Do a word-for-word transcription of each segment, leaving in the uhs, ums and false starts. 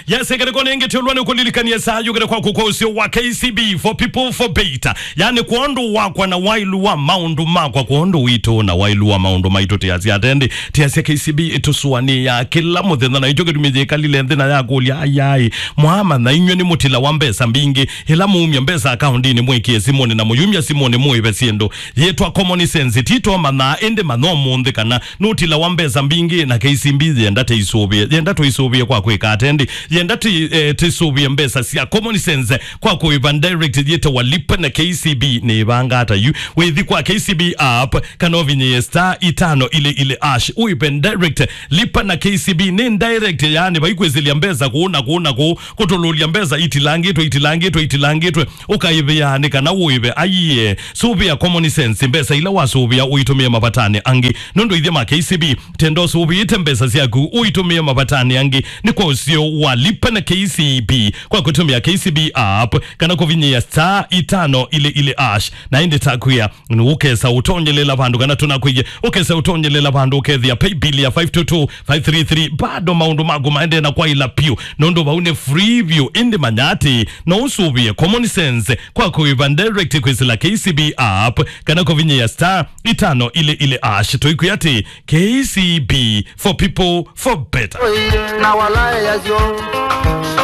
Yes, ngelekoni ĩngĩ tũlwa nĩ kũlilikania saa yũkĩte kwaku kwa ũseo wa K C B, for people, for better. Yani, kwondũ wakwa na wailu wa maũndũ makwa, kwondũ witũ na wailu wa maũndũ maitũ, tĩasya atendi, tĩasya K C B ĩtũsũanĩaa kĩla mũthenya, na ĩkyo kĩtumi yĩkalile nthĩ na yakũlya, ayai, mwamanya inyw'ĩ nĩ mũtila wa mbesa mbingĩ, ĩla mũumya mbesa akaundinĩ mwĩkĩe simũnĩ na mũyumya simũnĩ mũĩve syĩndũ yĩtwa common sense, tito manyaa, ĩndĩ manya ũmũnthĩ kana nũtila wa mbesa mbingĩ, na K C B yenda tũisũvĩe, yenda tũisũvĩe kwa kwĩka atendi, yenda tũi-, eh, tũisũvĩe mbesa sya common sense kwa kũĩva direct yĩtawa Lipa na K C B. Nĩ ĩvanga ata yu? Wĩthi kwa K C B app, kana ũvinyĩe star itano ile ile hash, ũĩve direct. Lipa na K C B nĩ direct, yani, vaikwĩsĩlya mbesa kũũ na kũũ na kũũ, kũtũlũlya mbesa itilangĩtwe, itilangĩtwe, itilangĩtwe, ũkaĩvĩa nĩ kana ũĩve. Aiee, sũvĩa common sense, mbesa ila wasũvĩa ũitũmĩe mavatanĩ angĩ. Nũndũ ithyĩ ma K C B, tenda ũsũvĩĩte mbesa syaku ũitũmĩe mavatanĩ angĩ, nĩ kwa ũseo wa Lipa na K C B kwa kũtũmĩa K C B app kana kũvinyĩĩa star itano ile ile hash. Na ĩndĩ takwĩa, ũkesa ũtonyelela vandũ kana tũnakwĩie, ũkesa ũtonyelela vandũ ũkethĩa paybill ya five two two five three three, bado maũndũ maku maendee na kwaĩla piũ, nũndũ vau nĩ free view. Ĩndĩ manya atĩ no ũsũvĩe common sense kwa kũĩva direct kwĩsĩla K C B app kana kũvinyĩĩa star itano ile ile hash. Tũikwĩa atĩ K C B, for people, for better. Na walaya syo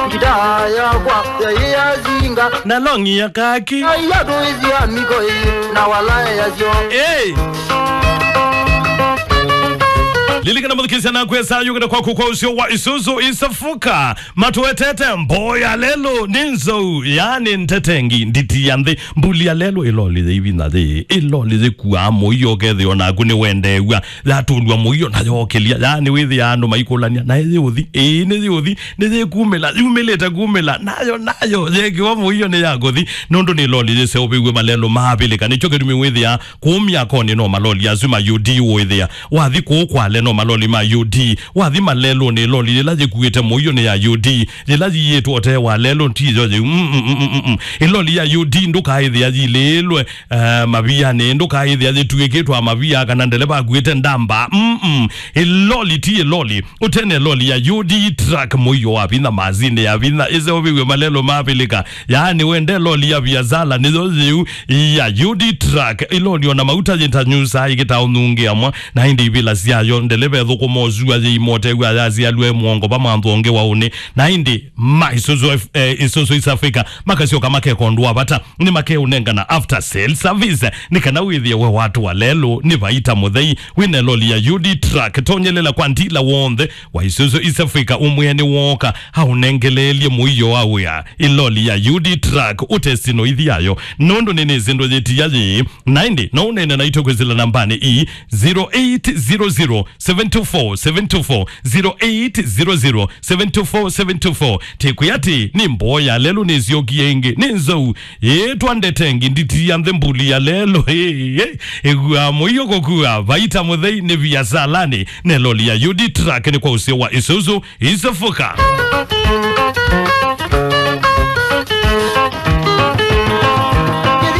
ngita yakwa yaiyazinga na longi ya kaki. Aiya tuizia miko na walaya syo. Hey! Lilikana mũthikĩsya na kwesa yũkĩte kwaku kwa ũseo wa Isuzu Isafuka. Matũetete mboya lelo nĩ nzou, yani ntetengi nditi ya nthĩ, mbuli ya lelo, ĩloli yĩ ivina yĩ, ĩloli yĩkuaa mũio, ũkethĩa onaku nĩwendeew'a yatũlw'a mũio na yokĩlya. Yani wĩthĩaa andũ maikũlany'a, naĩ yĩũthi? Ĩĩ, nĩ yĩũthi. Nĩ yĩkumĩla, yumĩlĩte kumĩla, nayo, nayo yekĩwa mũio nĩ yakũthi, nũndũ nĩ ĩloli yĩseũvĩw'e malelo maavĩlĩka. Nĩkyo kĩtumi wĩthĩaa kũũ myakonĩ no maloli asu ma U D ũĩthĩa. Wathi kũũ Kwale no maloli ma U D. Wathi malelũnĩ, ĩloli yĩla yĩkuĩte mũio nĩ ya U D. Yĩla yiĩtwe ũtee wa lelũ ti yo yĩu. Mm, mm, mm, mm, mm. Ĩloli ya U D ndũkaĩthĩa yilĩĩlwe, eh, mavianĩ, ndũkaĩthĩa yĩtuĩkĩtwe mavia kana ndeleva akuĩte ndamba. Mm, mm. Ĩloli ti ĩloli. Ũtene ĩloli ya U D truck, mũio wa vinya, masini ya vinya, ĩseũvĩw'e malelo maavĩlĩka. Yaani wende ĩloli ya viasala, nĩyo yĩu ya U D truck. Ĩloli ona mauta yĩtanyusaa ĩkĩta ũnungi amwe, na ĩndĩ ivila syayo, ndeleva ĩthũkũma ũsua yĩimotew'a yasialw'e mũongo va mwanthu ũngĩ wa ũnĩ. Na ĩndĩ ma Isuzu F-, eh, Isuzu East Africa makasyoka makeka ũndũ wa vata, nĩmakeũnengana after sale service, nĩ kana wĩthĩe we watũa lelũ nĩ vaita mũthei. Wĩna ĩloli ya U D truck, tonyelela kwa ndila w'onthe wa Isuzu East Africa, ũmwĩe nĩwooka aũnengeleelye mũio wa wĩa. Ĩloli ya U D truck, ũtesi no ithi yayo, nũndũ nĩnĩsĩ ndũyĩtia yĩĩ. Na ĩndĩ no ũneene naitũ kwĩsĩla nambanĩ ii, zero eight zero zero, seven two four, seven two four, zero eight zero zero, seven two four, seven two four. Tĩkwĩa atĩ nĩ mboo ya lelũ nĩsyokie ĩngĩ, nĩ nzou, yĩtwa ndetengi nditi ya nthĩ, mbuli ya lelũ. Ĩĩ, ĩĩ, ĩkuaa mũio kũkua vaita mũthei nĩ viasalanĩ, na ĩloli ya U D truck nĩ kwa ũseo wa Isuzu Isafuka.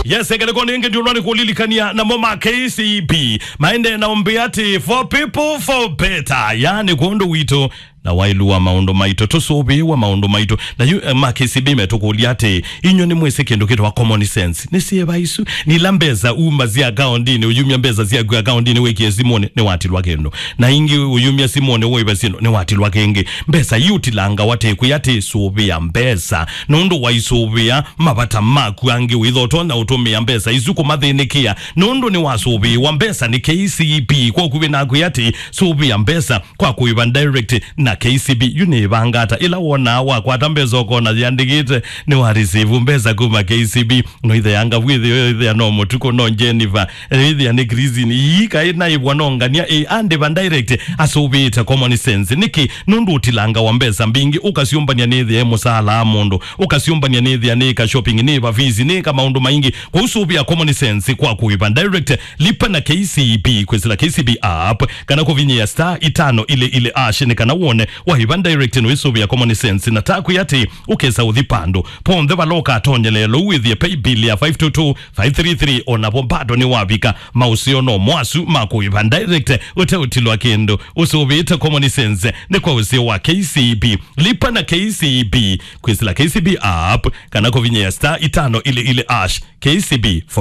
Yes, ngelekoni ĩngĩ ndiũlwa nĩ kũlilikania namo ma K C B. Maende na ũmbĩ atĩ, for people, for better. Yani kwondũ witũ na wailu wa maũndũ maitũ, tũsũvĩĩwa maũndũ maitũ. Na yu, eh, ma K C B metũkũlya atĩ, inyw'ĩ nĩmwĩsĩ kĩndũ kĩtawa common sense? Nĩ syĩva isu? Nĩ ila mbesa uma sya akaundinĩ, ũyumya mbesa syaku akaundinĩ wĩkĩe simũnĩ, nĩwatilwa kĩndũ. Na ingĩ ũyumya simũnĩ ũĩve syĩndũ, nĩwatilwa kĩngĩ. Mbesa iu ũtilangawa tĩkwĩ atĩ sũvĩa mbesa. Nũndũ waisũvĩa mavata maku angĩ, wĩtha ũtonya ũtũmĩa mbesa isu kũmathĩnĩkĩa. Nũndũ nĩwasũvĩĩwa mbesa nĩ K C B, kwa ũkuvĩ naku atĩ sũvĩa mbesa kwa kũĩva direct na K C B. Yu nĩ ĩvanga ata? Ĩla wonaa wakwata mbesa ũkona yĩandĩkĩte nĩ wa receive mbesa kuma K C B, no ĩtheanga vu ĩthĩa, ĩthĩa no mũtuko, no Jennifer, ĩthĩa nĩ Christine, ii kaĩ naĩvwa no ngania, ĩ, andĩva direct, asũvĩĩte common sense. Nĩkĩ? Nũndũ ũtilangawa mbesa mbingĩ, ũkasyũmbany'a nĩthĩa ĩ mũsaala wa mũndũ, ũkasyũmbany'a nĩthĩa nĩĩka shopping, nĩĩva fees, nĩĩka maũndũ maingĩ. Kwoou sũvĩa common sense kwa kũĩva direct, lipa na K C B, kwĩsĩla K C B app, kana kũvinyĩa star itano ile ile hash nĩ kana wone Waiva Direct nĩwĩsũvĩa common sense, na takwĩ atĩ ũkesa ũthi pandũ ponthe vala ũkatonyelea lou wĩthĩe paybill ya five two two five three three, onavo bado nĩwavika maũseo no mwasu ma kũiva Direct ũteũtilwa kĩndũ. Ũsũvĩte common sense nĩ kwa ũseo wa K C B. Lipa na K C B. Kwĩsĩla K C B app kana kũvinyĩa star itano ili ili ash. K C B for